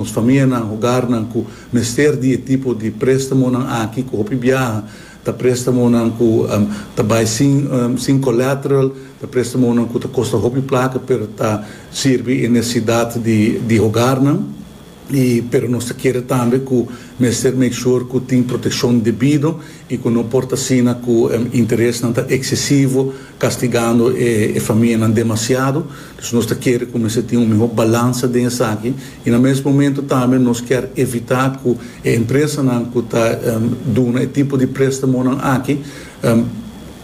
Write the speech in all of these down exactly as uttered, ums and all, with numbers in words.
Nos famianan, hogarnan ku mester di e tipo di préstamonan aki, ku hopi biaha ta préstamonan ku um, ta bai sin, um, sin collateral, ta préstamonan ku ta kosta hopi plaka, pero ta sirbi e nesesidat di, di hogarnan. I, pero nos ke tambe ku mester make sure ku tin protekshon debido i ku no por ta asina ku um, interesnan ta eksesivo, kastigando e, e famianan demasiado. Anto nos ke ku mester tin un mihó balansa den esaki i na mes momento tambe nos ke evitá ku e empresanan ku ta um, duna e tipo di préstamonan aki um,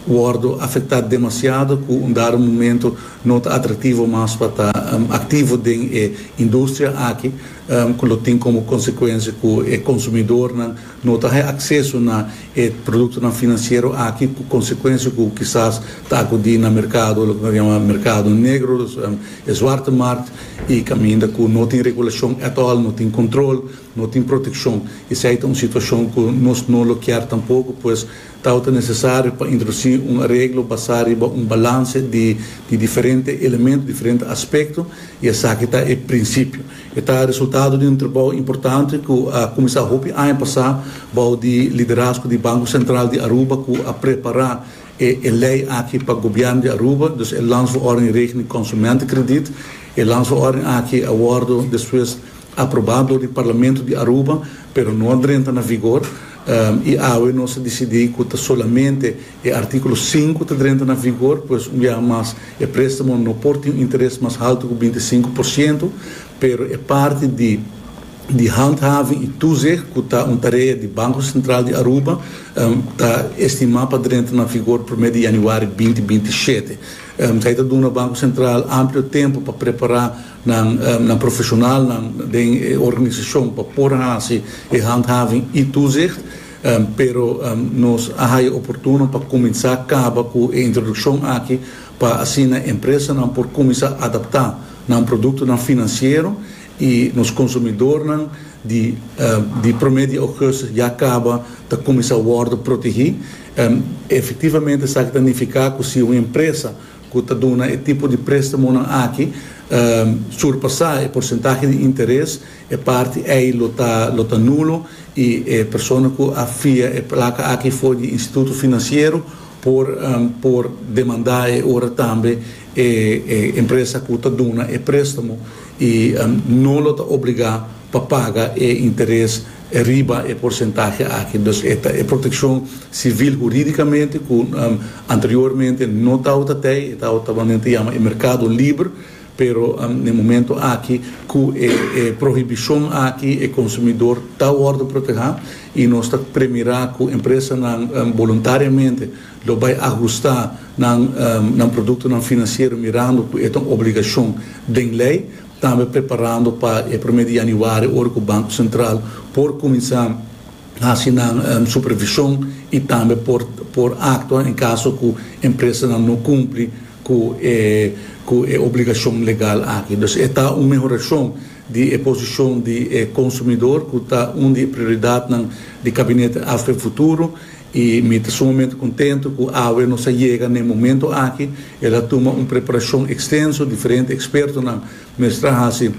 wòrdu afektá demasiado, ku un dado momento no ta atraktivo mas pa ta um, aktivo den e industria aki, um, ku tin komo konsekuensia ku e konsumidónan no tin akseso na e produktonan finansiero aki, ku konsekuensia ku kisas ta akudí na merkado, loke nos yama merkado negro, um, e zwarte markt, i kaminda ku no tin regulashon at all, no tin kontrol, no tin protekshon. Esei ta un situashon ku nos no ke tampoko, pues ta nesesario pa introdusí un areglo basá riba un balanse di, di diferente elemento, diferente aspekto, i esaki ta e prinsipio. E ta resultado di un trabou importante ku a kuminsá hopi aña pasá, bou di liderazgo di Banko Sentral di Aruba, ku a prepará e, e lei aki pa gobièrnu di Aruba, dus e Landsverordening Regeling Consumentenkrediet. E landsverordening aki a wòrdu despues aprobá dor di Parlamento di Aruba, pero no a drenta na vigor. Um, i awe nos a disidí ku solamente e artíkulo sinku ta drenta na vigor, pues un dia mas e préstamo no por tin interes mas haltu ku binti i sinku porshento, pero e parti di di handhaving i toezicht, ku ta un tarea di Banko Sentral di Aruba, um, ta estimá pa drenta na vigor promé di yanüari dos mil binti i shete. Um, ta duna Banko Sentral amplio tempu pa prepará nan, um, nan profeshonalnan di organisashon pa por hasi e handhaving i toezicht, um, pero um, nos a haya oportuno pa kuminsá kaba ku e introdukshon aki pa asina empresanan por kuminsá adaptá nan produktonan finansiero i nos konsumidónan di, uh, di promé di ougùstùs ya kaba ta kuminsá wòrdu protegí. Um, efektivamente, esaki ta nifiká ku si un empresa ku ta duna e tipo di préstamo aki um, surpasá e porsentahe di interes, e parti ei lo ta, lo ta nulo i e persona ku a fia e plaka aki for di instituto finansiero por um, por demandá e ora tambe e, e empresa ku ta duna e préstamo i um, no lo ta obligá pa paga e interes riba e porsentahe aki. Dus e, e protekshon sivil hurídikamente ku um, anteriormente no tabata tei, tabata yama e merkado liber, pero um, na momento aki ku e, e prohibishon aki e konsumidó ta wòrdu protehá i nos ta premirá ku empresanan um, voluntariamente lo bai ahustá nan um, nan produktonan finansiero, mirando ku e ta un obligashon di lei, tambe preparando pa e promé di yanüari, ora ku Banko Sentral por kuminsá hasi nan um, supervishon i tambe por por aktua en kaso ku empresanan no kumpli ku e ku e obligashon legal aki. Anto, ta un mehorashon di posishon di eh, konsumidó, ku ta un di prioridatnan di gabinete A V P Futuro, i mi ta sumamente kontentu ku awe nos a yega na e momento aki. El a tuma un preparashon ekstenso, diferente ekspertonan mester a hasi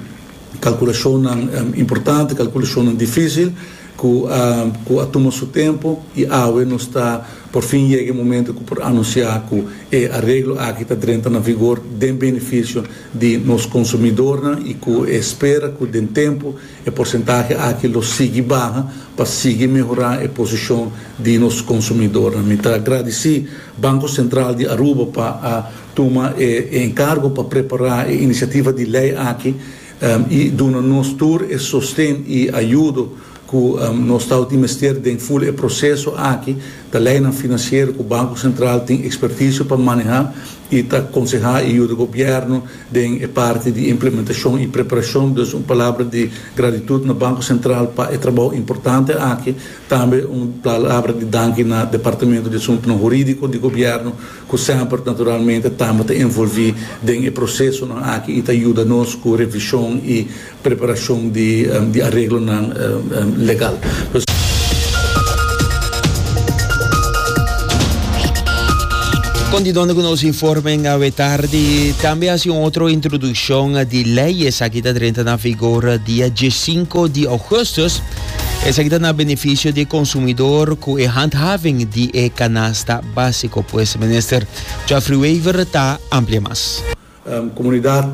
kalkulashon um, importante, kalkulashon difísil, ku, um, ku a tuma su tempu, i awe nos ta por fin yega e momento ku por anunsiá ku e areglo aki ta drenta na vigor den benefisio di nos konsumidó i ku ta spera ku den tempu e porsentahe aki lo sigui baha pa sigui mehorá e posishon di nos konsumidó. Mi ta gradisí Banko Sentral di Aruba pa a tuma e, enkargo pa prepará e inisiativa di lei aki um, i duna nos tur e sosten i ayudo ku um, nos ta mester den full e proseso aki di lei finansiero, ku Banko Sentral tin ekspertisio pa manehá i ta konsehá i yuda gobièrnu den e parti di implementashon i preparashon. Dus un palabra di gratitut na Banko Sentral pa e trabou importante aki, tambe un palabra di danki na Departamento di Asuntu Hurídiko di gobièrnu, ku semper naturalmente tambe ta envolví den e proseso aki i ta yuda nos ku revishon i preparashon di, um, di areglo um, um, legal. Dus, Continuando cu nos informe awe tardi, tambe asina un otro introduccion di ley, esaki ta drenta na vigor dia diescinco di augustus. Esaki ta na beneficio di consumidor cu e handhaving di e canasta basico. Pues Minister Geoffrey Wever ta amplia mas. Um, comunidad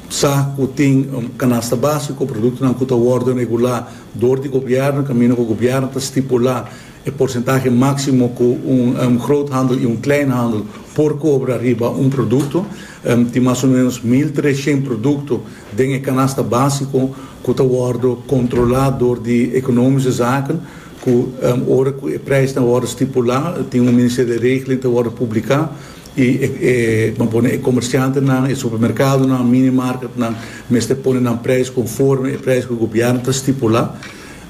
sa cu tin un canasta basico, productonan cu ta wordo regula door di gobierno, caminda cu gobierno ta stipula e porcentahe maximo cu un, un groothandel y un kleinhandel por cobra riba un producto. Um, tin mas o menos mil trescientos producto den canasta basico cu ta wordo controla door di Economische Zaken, cu um, ora cu e prijs wordo stipula, tin un ministerie di regeling ta wordo publica y e, e, pone e comerciantenan, e supermercadonan, minimarketnan, mester pone nan prijs conforme e prijs cu gobierno ta stipula.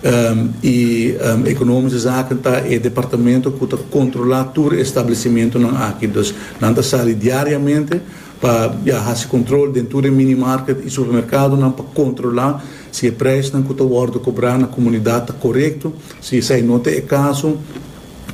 Um, y um, Economische Zaken ta e departamento cu ta controla tur establecimentonan aki. Dus nan ta sali diariamente pa, ja, haci control den e minimarket y supermercadonan pa controla si e prijsnan cu ta wordo cobra na comunidad ta corecto. Si esey no ta e caso,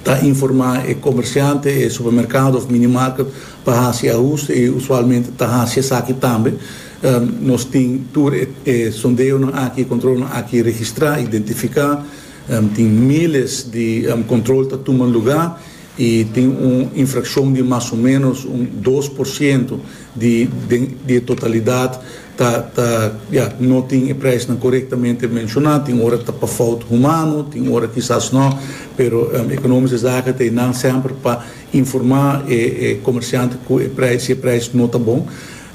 ta informa e comerciante, e supermercado of minimarket pa haci ahuste y usualmente ta haci esaki tambe. Um, nos tin tur e, e sondeonan aki, control aki registra, identifica, um, tin miles di um, control ta tuma luga y tin un infraccion di mas o menos un dos porciento di, di, di totalidad ta, ta, ja, no tin e prijs corectamente menciona. Tin ora ta pa fout humano, tin ora kisas no, pero um, Economische Zaken tin nan semper pa informa e, e comerciante cu e prijs, e prijs no ta bon.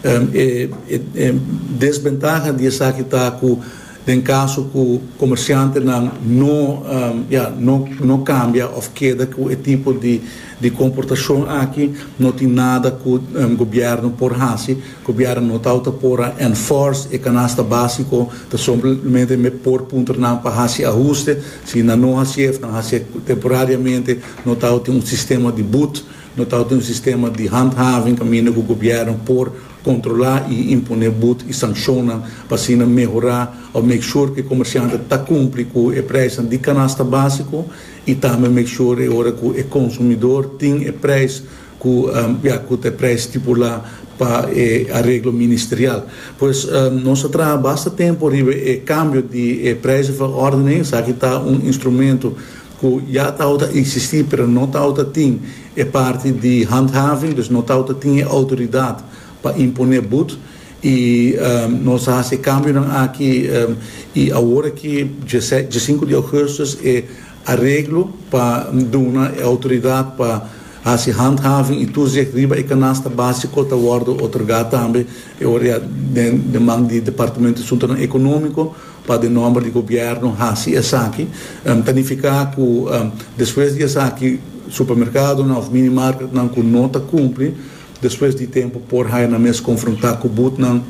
Um, e, e, e desbentaha di esaki ta cu den caso cu comerciantenan no um, ja, no no cambia of keda cu e tipo di di comportacion aki, no tin nada cu um, gobierno por haci. Gobierno no ta por enforce e canasta basico, ta simplemente me por puntra nan pa haci ahuste. Si nan no haci, nan haci temporariamente, no ta un sistema di boete, no ta un sistema di handhaving caminda cu gobierno por controla y impone boete y sanciona pa asina mehora of make sure cu e comerciante ta cumpli cu e prijs di canasta basico y tambe make sure ora cu e consumidor tin e prijs cu um, ja, cu e prijs stipula pa eh, areglo ministerial. Pues um, nos a traha basta tempo riba e cambio di eh, prijzenverordening, esaki ta un instrumento cu ya ta existi, pero no ta tin e parti di handhaving, dus no ta tin autoridad pa impone boete y um, nos a haci cambio aki um, y awor cu dia cinco di augustus e areglo pa duna autoridad pa haci handhaving y toezicht riba e canasta basico ta wordo otorga tambe y ora den den man di Departamento di Asunto Economico pa den nomber di gobierno haci esaki. Um, ta nifica cu um, despues di esaki supermercadonan of minimarketnan cu no ta cumpli, despues di tempo por haya nan mes confronta cu boetenan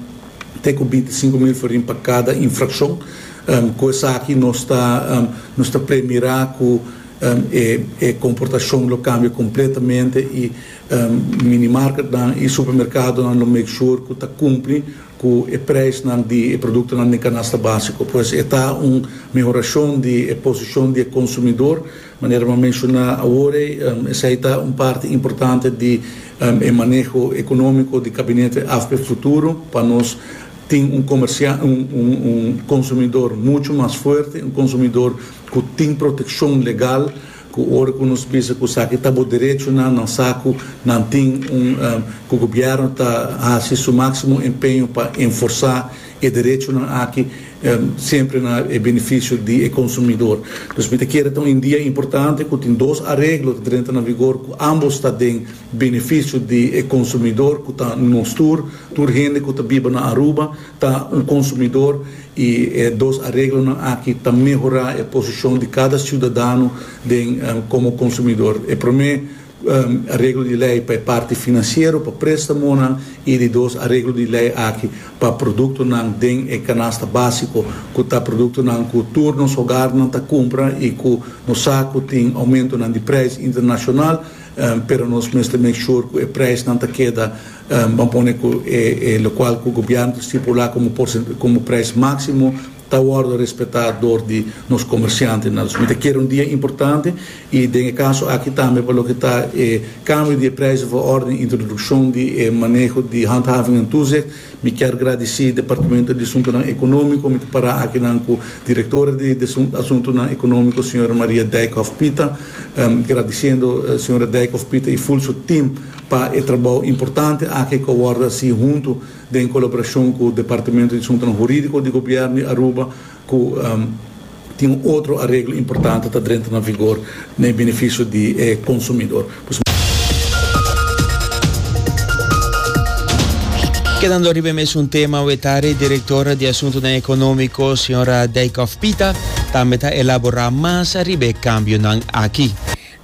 te cu binticinco mil florin pa cada infraccion. Um, cu esaki nos ta um, nos ta premira cu um, e, e comportacion lo cambia completamente y um, minimarketnan y supermercadonan lo make sure cu ta cumpli cu e prijsnan di e productonan di canasta basico. Pues ta un mehoracion di posicion di consumidor, manera mi a menciona awor, um, esey ta un parti importante di um, e maneho economico di gabinete A V P Futuro, pa nos tin un comerciante, un, un, un consumidor mucho mas fuerte, un consumidor cu tin proteccion legal, cu ora cu nos bisa cu esaki ta bo derechonan, nan sa cu nan tin un um, cu gobierno ta haci su maximo empeño pa enforsa e derechonan aki um, semper na beneficio di consumidor. Dus mi kier ta un dia importante cu tin dos areglo cu ta na vigor, cu ambos ta den beneficio di consumidor, cu ta nos tur, tur hende cu ta biba na Aruba ta un consumidor y eh, dos areglonan aki ta mehora e posicion di cada ciudadano den, um, como consumidor. E prome um, areglo di ley pa parti financiero, pa prestamo y di dos areglo di ley aki pa productonan den e canasta basico, cu ta productonan cu tur nos hogarnan ta cumpra y cu nos sa cu tin aumentonan di prijs internacional, um, pero nos mester make sure cu e prijsnan ta keda, um, ban pone cu e, e locual cu gobierno stipula como como prijs maximo. Ta wordo respeta door di nos comerciantenan. Mi ta kere un dia importante y den e caso aki tambe pa loke ta eh, cambio di prijzenverordening, introduccion di eh, maneho di handhaving en toezicht. Mi kier gradici Departamento di Asunto Economico, mi para aki cu director di Asunto Economico, señora Maria Dijkhoff Pita, um, gradiciendo uh, señora Dijkhoff Pita y full su team pa e trabou importante aki cu a wordo haci hunto den colaboracion cu Departamento di Asunto Huridico di Gobierno di Aruba, cu um, tin otro areglo importante ta drenta na vigor na beneficio di eh, consumidor. Pues, Kedando riba mesun tema, e director di Asunto Economico, señora Dijkhoff Pita, tambe ta elabora mas riba e cambionan aki.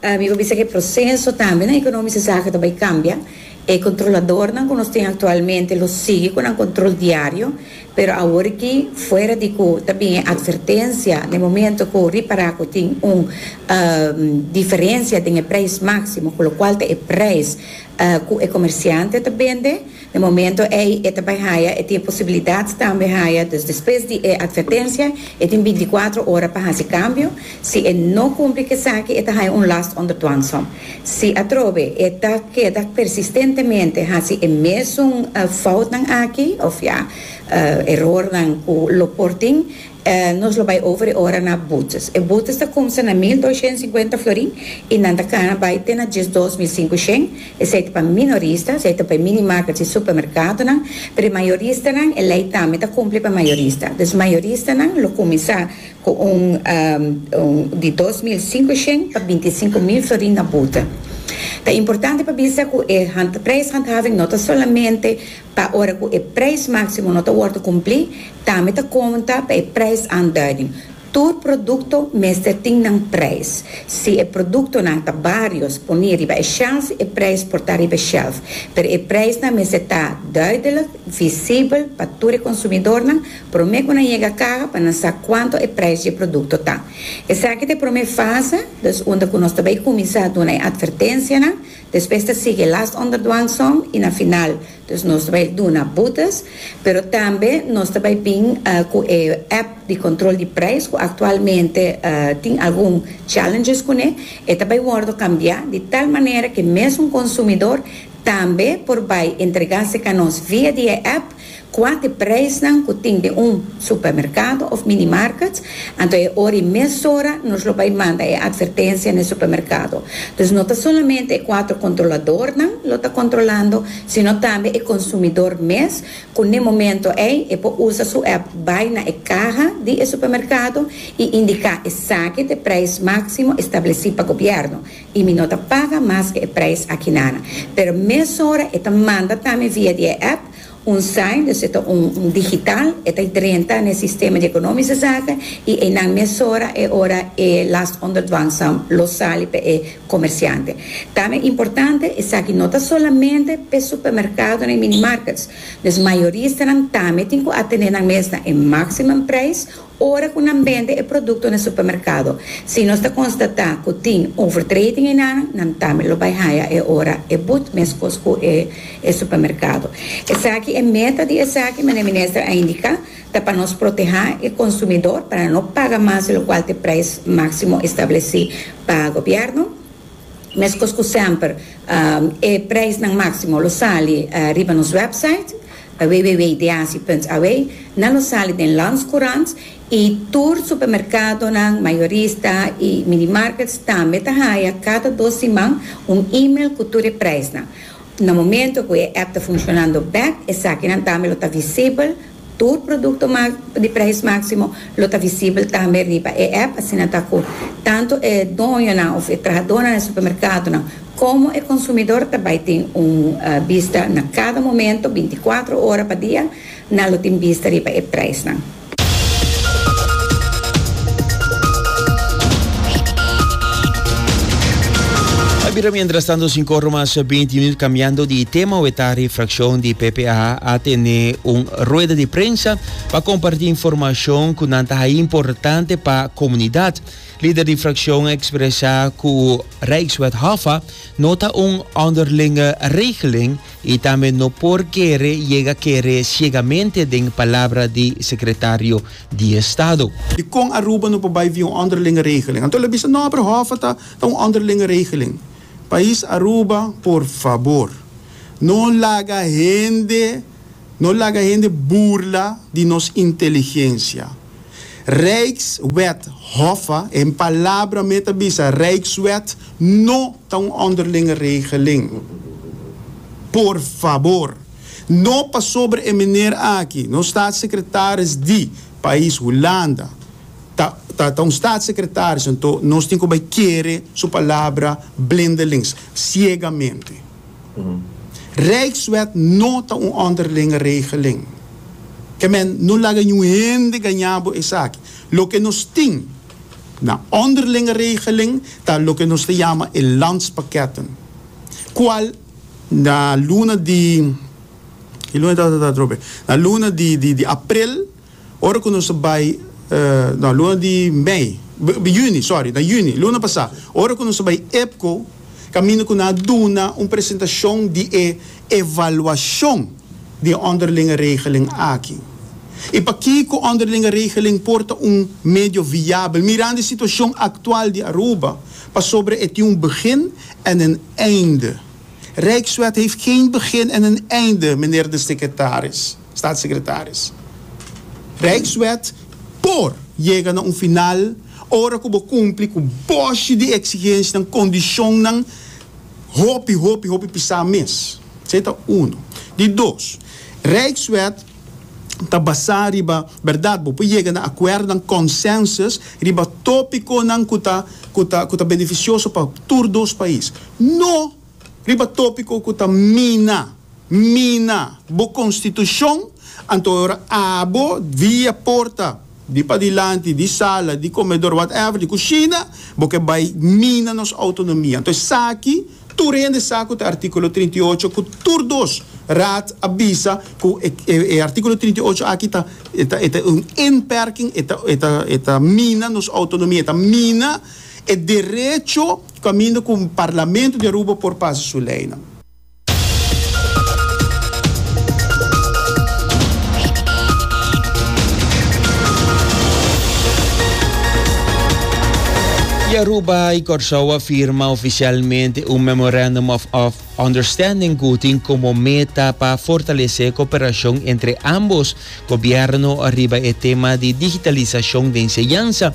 Uh, mi bisa cu e proceso tambe na Economische Zaken tambe cambia. E controladornan cu nos tin actualmente lo sigui cu un control diario, pero awor cu fuera di cu tambe advertencia, na momento cu ripara cu tin un uh, diferencia di prijs maximo, cu loke ta e prijs uh, cu e comerciante ta bende, na momento ey e tambe haya e tin posibilidad tambe haya, dus despues di advertencia e tin binticuater ora pa haci cambio. Si e no cumpli cu esaki, e ta haya un last onder dwangsom. Si atrobe e ta keda persistentemente haci e mesun uh, foutnan aki of ja uh, errornan cu lo por tin, uh, nos lo bay over e ora na boetes. E boetes ta cuminsa na mil dos cien y cincuenta florin y nan ta cana bay te na diesdos mil cinco cien. Esey ta pa minorista, esey ta pa mini markets y supermercadonan, pero mayoristanan, e ley tambe ta cumpli pa mayorista. Dus mayoristanan lo cuminsa cu un, um, un di dos mil cinco cien pa binticinco mil florin na boete. Ta importante pa bisa cu e prijshandhaving no ta solamente pa ora cu e prijs maximo no ta wordo cumpli, tambe ta conta pa e prijsaanduiding. Tur producto mester tin nan prijs. Si e productonan ta varios poni riba e shelf, e prijs por ta riba shelf. Pero e prijsnan mester ta duidelijk, visibel pa tur consumidornan, prome cu nan yega caha pa nan sa cuanto e prijs di e producto ta. Esaki ta e prome fase, dus unda cu nos tambe cuminsa duna advertencianan, despues ta sigui last onder dwangsom y na final, dus nos ta bay duna boetes, pero tambe nos tambe ta bin uh, cu e app di control di prijs, cu actualmente uh, tin algun challenges cune, y tambe ta wordo cambia di tal manera cu mesmo consumidor tambe por bay entrega cu nos via di app cua ta e prijsnan cu tin den un supermercado of mini market, anto e ora mesora nos lo bay manda e advertencia na supermercado. Dus no ta solamente e cuater controladornan lo ta controlando, sino tambe e consumidor mes, cu na momento ey e por usa su app, bay na e caha di supermercado y indica esaki ta e prijs maximo estableci pa gobierno. Y mi no ta paga mas cu e prijs akinan. Pero mesora e ta manda tambe via di app un sign, dus ta un, un digital, e ta drenta den sistema di Economische Zaken y einan mesora e ora e last onder dwangsom lo sali pa e comerciante. Tambe importante ta cu no ta solamente pa supermercado y mini markets, dus mayoristanan tambe tin cu atene nan mes na e maximum prijs ora cu nan bende e producto na supermercado. Si nos ta constata cu tin overtreding einan, nan tambe lo bay haya e ora e boete mescos cu e, e supermercado. Esaki e meta di esaki, e minister a indica, ta pa nos proteha e consumidor, pa no paga mas di loke ta e prijs maximo estableci pa gobierno. Mescos cu semper, um, e prijsnan maximo lo sali uh, riba nos website w w w punt deasi punt a w, nan lo sali den Landscourant y tur supermercadonan, mayorista y mini markets tambe ta haya cada dos siman un e-mail cu tur e prijsnan. Na momento cu e app ta funcionando back, esakinan tambe lo ta visibel, tur producto di prijs maximo lo ta visibel tambe riba e app, asina ta cu tanto e doñonan of e trahadornan na supermercadonan como e consumidor tambe tin un uh, bista na cada momento, binticuater ora pa dia, nan lo tin bista riba e prijsnan. Bira mientras tanto cinco or mas binti minuut. Cambiando di tema, awe tardi fraccion di P P A a tene un rueda di prensa pa comparti informacion cu ta importante pa comunidad. Lider di fraccion a expresa cu Rijkswet HOFA no ta un onderlinge regeling y tambe no por kere yega kere ciegamente den palabra di secretario di Estado. Di con Aruba no por bay via un onderlinge regeling. Anto, bisa no, pero HOFA ta, ta un onderlinge regeling. Pais Aruba, por fabor, no laga hende, no laga hende burla di nos inteligencia. Rijkswet HOFA, en palabra mes ta bisa, Rijkswet no ta un onderlinge regeling. Por fabor. No pasobra e meneer aki, no staatssecretaris di pais Hulanda, ta, ta, ta un staatssecretaris, anto nos tin cu kere su palabra blindelings, ciegamente. Rijkswet no ta un onderlinge regeling. Kiermen, no laga ningun hende gaña bo esaki. Loke nos tin na onderlinge regeling, ta loke nos ta yama e landspakketten. Cual na luna di ki luna ta ta trobe? Na luna di di, di april, ora cu nos bay uh, na luna di mei, juni, sorry, na juni, luna pasa, ora cu nos bay IPKO, caminda cu nan a duna un presentacion di e evaluacion di onderlinge regeling aki. Y pakico onderlinge regeling por ta un medio viabel, mirando e situacion actual di Aruba, pasobra e tin un begin en een einde. Rijkswet heeft geen begin en een einde, meneer de secretaris, staatssecretaris. Rijkswet por yega na un final, ora cu bo cumpli cu boshi di exigencianan, condicionnan, hopi, hopi, hopi pisa mes. Esey ta uno. Di dos, Rijkswet ta basa riba, berdad, bo por yega na acuerdo, consensus, riba topiconan cu ta, cu ta, cu ta beneficioso pa tur dos pais. No riba topico cu ta mina, mina bo constitucion, anto ora abo via porta di padilanti, di sala, di comedor, whatever, di cushina, bo ke bay mina nos autonomia. Anto, esaki, tur hende sa cu articulo trinta i ocho, cu tur dos raad a bisa cu e, e, e articulo trinta i ocho aki ta ta ta un inperking, ta ta ta mina nos autonomia, ta mina e derecho caminda cu parlamento di Aruba por pasa su ley. Y Aruba y Corsou a firma oficialmente un Memorandum of, of Understanding cu tin como meta pa fortalece cooperacion entre ambos gobierno riba e tema di digitalisacion di enseñansa.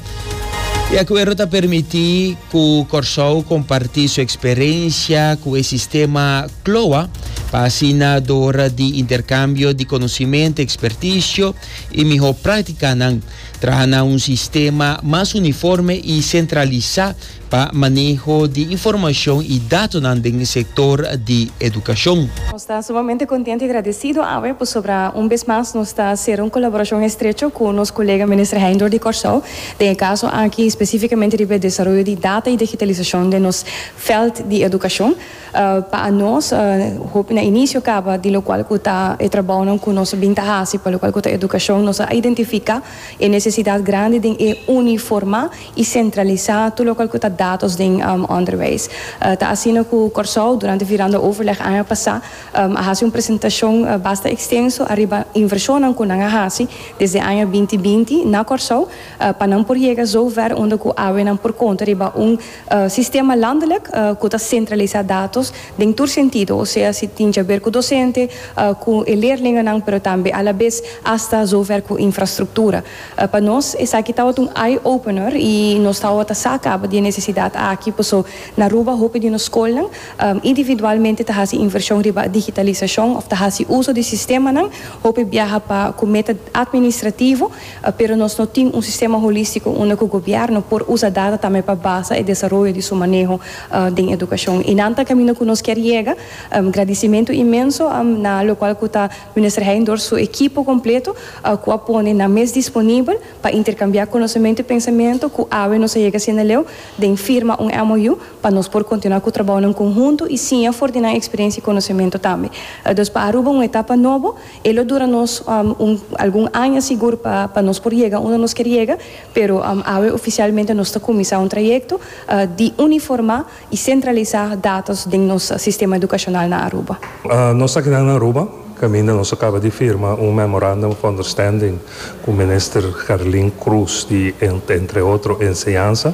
E acuerdo ta permiti cu Corsou comparti su experiencia cu e sistema CLOA pa asina dor di intercambio di conocimento, experticio y miho practicanan traha un sistema mas uniforme y centralisa pa maneho di informacion y dato den sector di educacion. Nos ta sumamente contento y agradecido awe pasobra un bes mas nos ta haciendo un colaboracion estrecho cu nos colega minister Heyndorp di Corsou, den e caso aki specificamente di desaroyo di data y digitalisacion di nos veld di educacion. Uh, pa nos, uh, na inicio caba di locual cu ta e trabou cu nos a bin ta haci, pa locual cu ta educacion, nos a identifica e necesidad grandi di uniforma y centralisa tur locual cu ta datos den um, onderwijs. Uh, ta asina cu Corsou, durante virando overleg aña pasa, um, a haci un presentacion uh, basta extenso ariba inversion cu nan a haci desde aña dos mil binti na Corsou, uh, pa nan por yega zover unda cu awe nan por conta riba un uh, sistema landelijk uh, cu ta centralisa datos den tur sentido, osea, si tin di haber cu docente, uh, cu leerlingennan, pero tambe a la vez hasta zover cu infrastructura. Uh, pa nos, esaki tabata un eye-opener y nos tabata sa caba di e necesidad aki, paso na Aruba, hopi di nos scolnan, um, individualmente ta haci inversion riba digitalisacion of ta haci uso di sistemanan, hopi biaha pa cu meta administrativo, uh, pero nos no tin un sistema holistico unda cu gobierno por usa data tambe pa basa e desaroyo di su maneho uh, di educacion. Y nan ta caminda cu nos kier yega, um, agradecimento inmenso um, na locual cu ta minister Heyndorp su ekipo completo, uh, cu a pone nan mes disponibel. pa intercambia conocemento y pensamento, cu awe nos a yega asina leu di firma un M O U pa nos por continua cu e trabou en conhunto y asina for di experiencia y conocemento tambe. Uh, dus pa Aruba un etapa nobo, e lo dura nos um, un, algun aña sigur pa pa nos por yega unda nos kier yega, pero um, awe oficialmente nos ta cuminsa un trayecto uh, di uniforma y centralisa datos den nos sistema educacional na Aruba. Uh, nos aki na Aruba, caminda nos a caba di firma un Memorandum of Understanding cu Minister Gerlien Croes, di, entre otro, Enseñansa.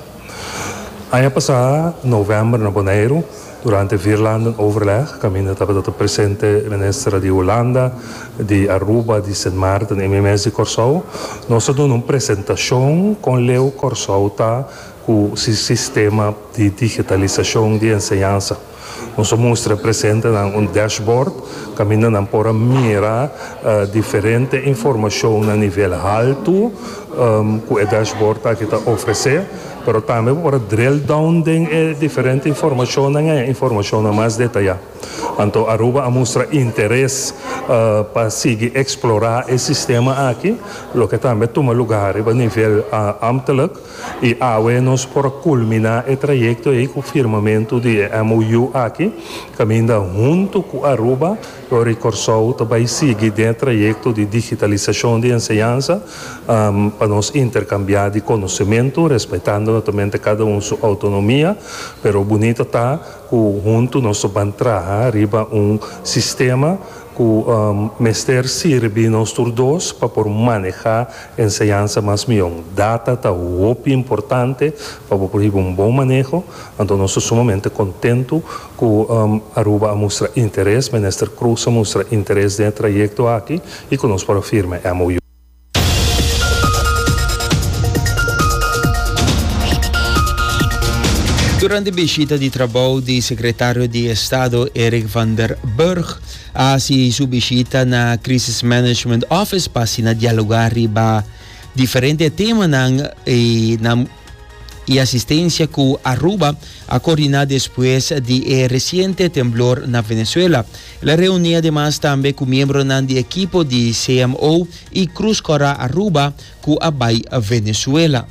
Aña pasa, november, na Bonaire, durante Vierlandenoverleg, caminda tabata presente minister di Hulanda, di Aruba, di Sint Maarten y mes di Corsou. Nos a duna un presentacion con leu Corsou ta cu e sistema di digitalisacion di enseñansa. Nos a mustra presente un dashboard, caminda nan por a mira uh, diferente informacion na nivel halto, um, cu e dashboard aki ta ofrece, pero tambe por drill down den eh, diferente informacion, informacion mas detaya. Anto Aruba a mustra interes uh, pa sigui explora e sistema aki, loke tambe a tuma luga na nivel uh, ambtelijk, y awe nos por culmina e trayecto ey cu firmamento di M O U aki, caminda hunto cu Aruba, y Corsou tambe sigui e trayecto di digitalisacion di enseñansa, um, pa nos intercambia di conocemento, respetando naturalmente cada un su autonomia, pero bunita ta cu hunto nos ta bay traha riba un sistema cu um, mester sirbi nos tur dos pa por maneha enseñansa mas miho. Data ta hopi importante pa por un bon maneho, anto nos ta sumamente contento cu um, Aruba a mustra interes, Minister Croes a mustra interes den e trayecto aki y cu nos por firma M O U. Durante e bishita di trabou di secretario di Estado Eric van der Burg, a haci su bishita na Crisis Management Office pa asina dialoga riba diferente tema y na e asistencia cu Aruba a coordina despues di e reciente temblor na Venezuela. El a reuni ademas tambe cu miembro di ekipo di C M O y Cruz Cora Aruba cu a bay Venezuela.